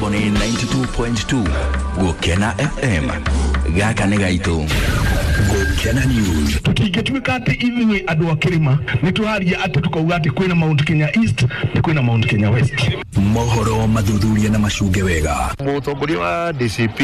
Mĩtambo nĩ 92.2 Gũkena FM. Gaka nĩ gaitũ. Gũkena News. Tũtingĩtuĩka atĩ ithuĩ andũ a kĩrĩma nĩ tũraria atĩ tũkauga atĩ kwĩna Mount Kenya East na kwĩna Mount Kenya West. Mohoro mathuthuria na macunge wega. Mũtongoria wa DCP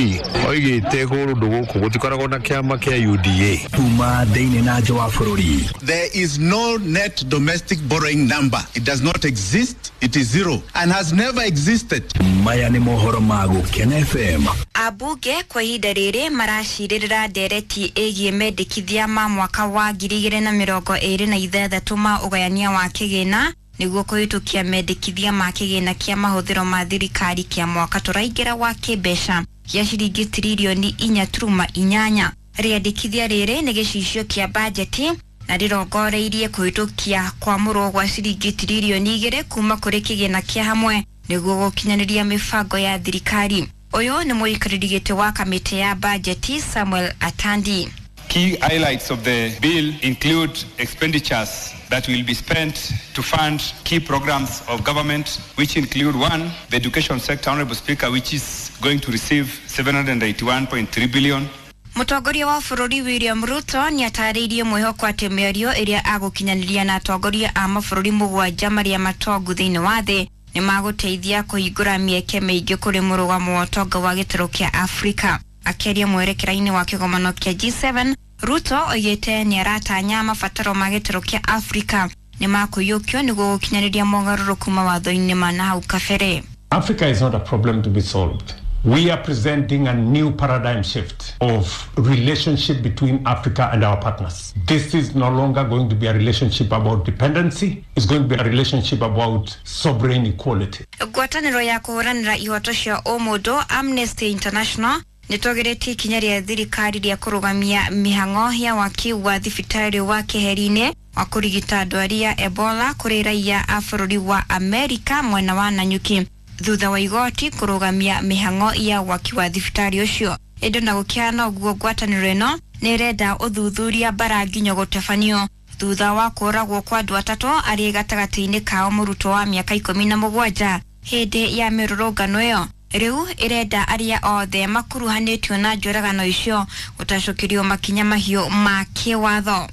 oigĩte kũndũ gũkũ gũtikoragwo na kĩama kĩa UDA. Kuma thĩinĩ na nja wa bũrũri. There is no net domestic borrowing number. It does not exist. It is zero and has never existed. Maya nĩ mohoro ma Gũkena FM. Ambunge kwa ihinda rĩrĩ maracirĩrĩra ndereti ĩgiĩ mendekithia ma mwaka wa 2026 ma ũgayania wa kĩgĩna nĩguo kũhĩtũkia mendekithia ma kĩgĩna kĩa mahũthĩro ma thirikari kĩa mwaka tũraingĩra wa kĩmbeca gĩa ciringi tiririoni 4.8. Rĩandĩkithia rĩrĩ nĩ gĩcicio kĩa bajeti na rĩrongoreirie kũhĩtũkia kwamũrwo gwa ciringi tiririoni 2 kuma kũrĩ kĩgĩna kĩa hamwe nĩguo gũkinyanĩria mĩbango ya thirikari. Ũyũ nĩ mũikarĩri gĩtĩ wa kamĩtĩ ya bajeti Samuel Atandi. Key highlights of the bill include expenditures that will be spent to fund key programs of government, which include one, the education sector, Honorable Speaker, which is going to receive 781.3 billion. Mũtongoria wa bũrũri William Ruto nĩ atarĩirie mwĩhoko atĩ mĩario ĩrĩa agũkinyanĩria na atongoria a mabũrũri 7 marĩa matongu thĩinĩ wa thĩ nĩ magũteithia kũhingũra mĩeke mĩingĩ kũrĩ mũrũgamo wa ũtonga wa gĩtarũ kĩa Afrika. Akĩaria mwerekera-inĩ wa kĩgomano kĩa G7, Ruto oigĩte nĩ aratanya mabataro ma gĩtarũ kĩa Afrika nĩ makũiyũkio nĩguo gũkinyanĩria mogarũrũku mawatho-inĩ ma nahau kabere. Africa is not a problem to be solved. We are presenting a new paradigm shift of relationship between Africa and our partners. This is no longer going to be a relationship about dependency. It's going to be a relationship about sovereign equality. Ngwatanĩro ya kũhũranĩra ihoto cia ũmũndũ Amnesty International nĩtũgĩrĩtie ikinya rĩa thirikari rĩa kũrũgamia mĩhang'o ya waki wa thibitarĩ wa keheri-inĩ wa kũrigita ndwari ya Ebola kũrĩ raiya a bũrũri wa Amerika mwena wa Nanyuki thutha wa igoti kũrũgamia mĩhang'o ya waki wa thibitarĩ ũcio. Ĩndĩ na gũkĩhana ũguo, ngwatanĩro ĩno nĩ ĩrenda ũthuthuria mbara nginyo gũtabanio thutha wa kũragwo kwa andũ 3 arĩ gatagatĩ-inĩ kao mũrutwo wa mĩaka 17 hĩndĩ ya mĩrũrũngano ĩyo. Rĩu ĩrenda arĩa othe makuruhanĩtio na njũragano icio gũtacũkĩrio makinya mahiũ ma kĩwatho.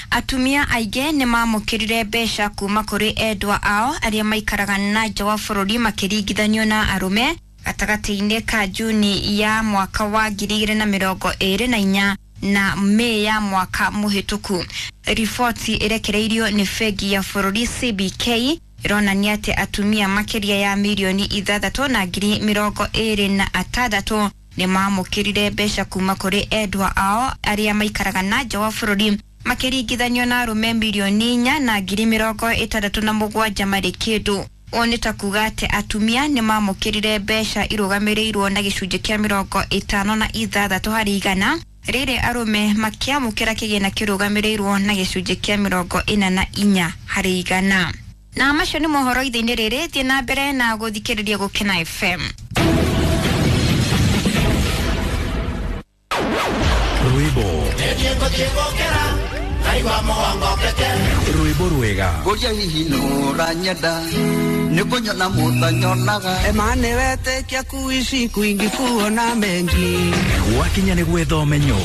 Atumia aingĩ nĩ mamũkĩrire mbeca kuma kũrĩ endwa ao arĩa maikaraga na nja wa bũrũri makĩringithanio na arũme gatagatĩ-inĩ ka Juni ya mwaka wa 2024 na Mei ya mwaka mũhĩtũku. Riboti ĩrekereirio nĩ bengi ya bũrũri CBK ĩronania atĩ atumia makĩria ya milioni 6,026 nĩ mamũkĩrire mbeca kuma kũrĩ endwa ao arĩa maikaraga na nja wa bũrũri makĩringithanio na arũme milioni 4,067 marĩ kĩndũ. Ũũ nĩ ta kuga atĩ atumia nĩ mamũkĩrire mbeca irũgamĩrĩirwo na gĩcunjĩ kĩa 56 harĩ igana, rĩrĩ arũme makĩamũkĩra kĩgĩna kĩrũgamĩrĩirwo na gĩcunjĩ kĩa 44 harĩ igana. Na macio nĩ mohoro ithe-inĩ rĩrĩ, thiĩ na mbere na gũthikĩrĩria Gũkena FM. Rwĩmbo rwĩmbo rwega ngũria hihi nũranyenda nĩkũnyona mũtanyonaga emane wetĩkia kuishi kwingi kuona mengi gwakinya nĩ gwetha ũmenyo.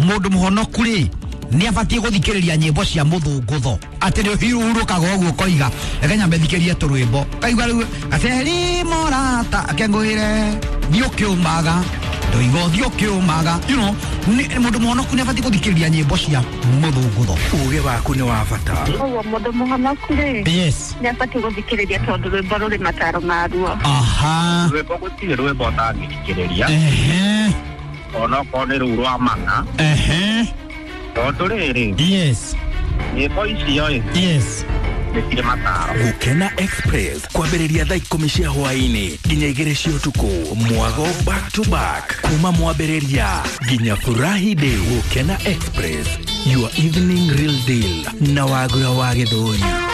Mũndũ mũhonoku rĩ nĩ abatiĩ gũthikĩrĩria nyĩmbo cia mũthũngũtho atĩ nĩ ũhurũkaga ũguo ũkoiga reke nyambe thikĩrie tũrwĩmbo kaigua rĩu gaceri morata akengũĩre thiĩ ũkĩũmaga ndoiga ũthiĩ ũkĩũmaga, you know, mũndũ mũhonoku nĩ abatiĩ gũthikĩrĩria nyĩmbo cia mũthũngũtho. Ũgĩ waku nĩ wa bata. Ũguo mũndũ mũhonoku rĩ, yes, nĩ abatiĩ gũthikĩrĩria tondũ rwĩmbo rũrĩ mataro maruo. Aha, rwĩmbo gũtirĩ rwĩmbo ũtangĩthikĩrĩria, ehe, onokorwo nĩ rũu rwa mana, ehe, tondũ rĩrĩ, yes, nyĩmbo icio ĩ, yes, nĩ mataro. Gũkena Express kwambĩrĩria thaa 10 cia hwaĩ-inĩ nginya 2 cia ũtukũ, mwago back to back kuma mwambĩrĩria nginya furahi day. Gũkena Express, your evening real deal na Wagura wa Gĩthũri.